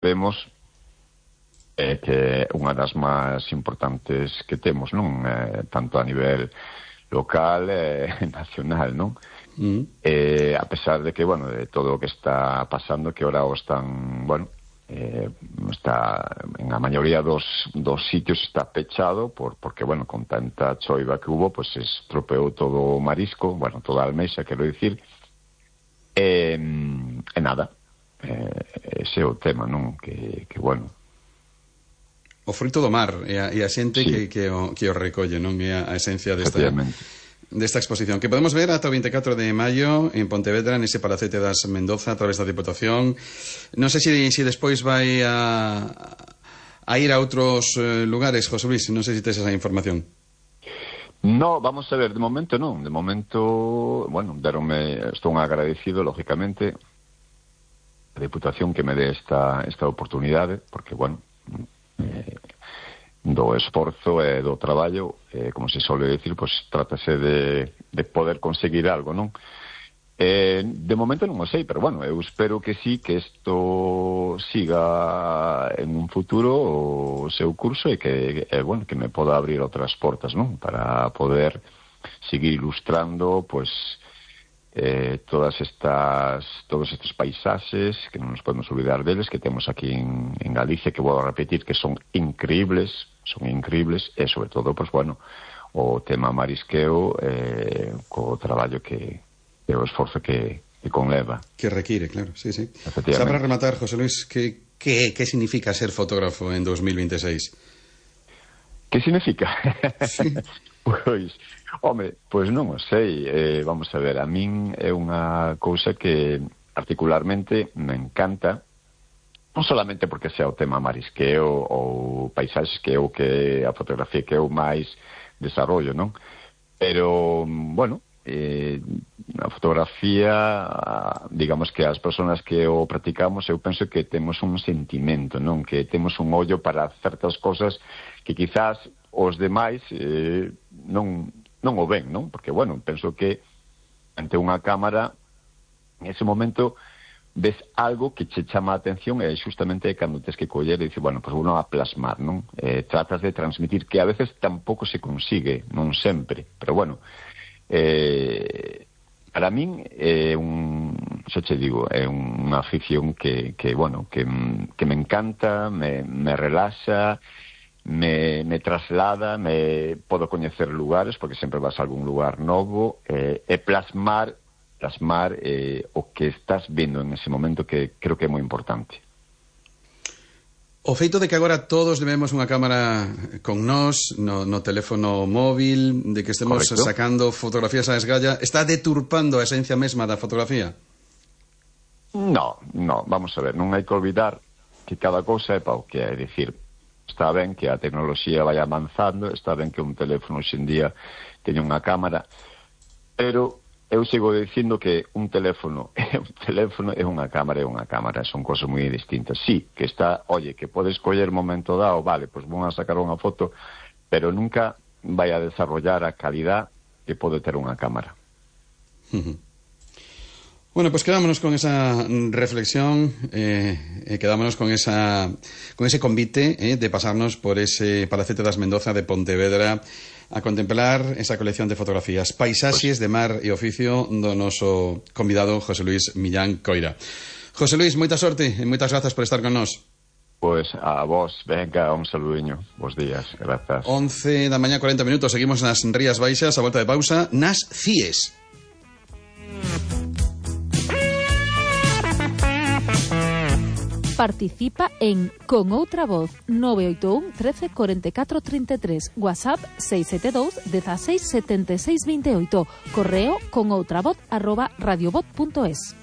vemos que é unha das máis importantes que temos, non? Tanto a nivel local e nacional, non? A pesar de que, bueno, de todo o que está pasando, que ahora están, bueno, está en a maioría dos sitios está pechado porque, bueno, con tanta choiva que hubo, pues se estropeou todo o marisco, bueno, toda a almexa, quero dicir, e nada, ese é o tema, non? Que bueno, o fruto do mar e a xente sí, que o recolle, non? É a esencia desta exposición que podemos ver ata o 24 de maio en Pontevedra, nese Palacete das Mendoza, a través da Diputación. Non sei se despois vai a ir a outros lugares, José Luis, non sei se tes esa información. No, vamos a ver, de momento non. De momento, bueno, estou agradecido, lógicamente, a Diputación que me dé esta oportunidade, porque, bueno, do esforzo e do traballo, como se suele decir, pues trátase de poder conseguir algo, non? De momento non o sei, pero bueno, eu espero que sí, que isto siga en un futuro o seu curso e que, bueno, que me poda abrir outras portas, non? Para poder seguir ilustrando, pues, todos estes paisaxes que non nos podemos olvidar deles, que temos aquí en Galicia, que vou a repetir que son increíbles, e sobre todo, pues bueno, o tema marisqueo, co traballo que o esforzo que conleva. Que require, claro, sí. Xa para rematar, José Luis, que significa ser fotógrafo en 2026? Que significa? Sí. Pois, home, pois non o sei. Vamos a ver, a min é unha cousa que particularmente me encanta, non solamente porque sea o tema marisqueo ou paisaxes, que é o que a fotografía que eu máis desarrollo, non? Pero, bueno, a fotografía, digamos que as persoas que o practicamos, eu penso que temos un sentimento, non? Que temos un ollo para certas cosas que quizás os demais non o ven, non? Porque, bueno, penso que ante unha cámara, en ese momento ves algo que che chama a atención e justamente cando tes que coller e dices, bueno, pues uno a plasmar, non? Tratas de transmitir, que a veces tampouco se consigue, non sempre, pero bueno, para min é xa che digo, é unha afición que bueno, que me encanta, me relaxa, me traslada, me podo coñecer lugares, porque sempre vas a algún lugar novo, e plasmar o que estás vendo en ese momento, que creo que é moi importante. O feito de que agora todos levemos unha cámara con nós no teléfono móvil, de que estemos Correcto. sacando fotografías a esgalla, está deturpando a esencia mesma da fotografía? No, vamos a ver, non hai que olvidar que cada cousa é pa o que é, dicir, está ben que a tecnoloxía vai avanzando, está ben que un teléfono hoxendía teña unha cámara, pero eu sigo dicindo que un teléfono é unha cámara, son cosas moi distintas. Sí, que está, oye, que podes coller momento dado, vale, pues vou a sacar unha foto, pero nunca vai a desarrollar a calidad que pode ter unha cámara. Bueno, pues quedámonos con esa reflexión, quedámonos con ese convite de pasarnos por ese Palacete das Mendoza de Pontevedra a contemplar esa colección de fotografías, paisaxes de mar e oficio do noso convidado José Luis Millán Coira. José Luis, moita sorte e moitas grazas por estar con nós. Pois a vos, venga, un saludiño, bons días, grazas. 11 da mañá, 40 minutos, seguimos nas Rías Baixas, a volta de pausa, nas CIES. Participa en Con Outra Voz 981 13 44 33, WhatsApp 672 16 76 28, correo conoutravoz@radiovoz.es.